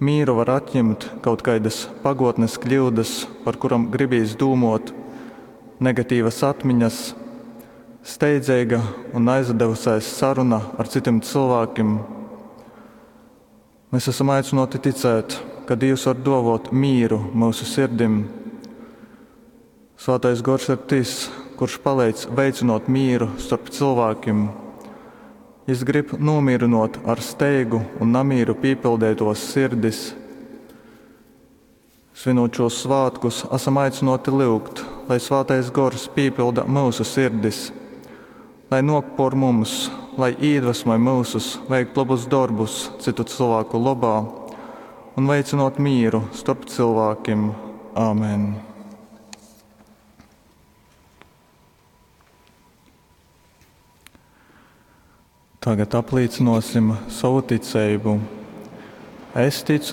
Mīru var atjimt kaut kaidas pagōtnes kļyudas, par kurom gribīs dūmōt, negatīvas atmiņas, steidzeiga un naizadevusēs saruna ar cytim cylvākim. Mes asam aicynōti ticēt, ka Dīvs var dōvōt mīru myusu sirdim. Svātais Gors ir tys, kurš paleidz veicynōt mīru storp cylvākim. Jys grib nūmīrynōt ar steigu un namīru pīpildeitōs sirdis. Svinūt šūs svātkus, asam aicynōti lyugt, lai Svātais Gors pīpylda myusu sirdis, lai nōk pōr mums, lai īdvesmoj myusus veikt lobus dorbus cytu cylvāku lobā un veicinōt mīru storp cylvākim. Amen. Tagad aplīcynōsim sovu ticeibu. Es ticu.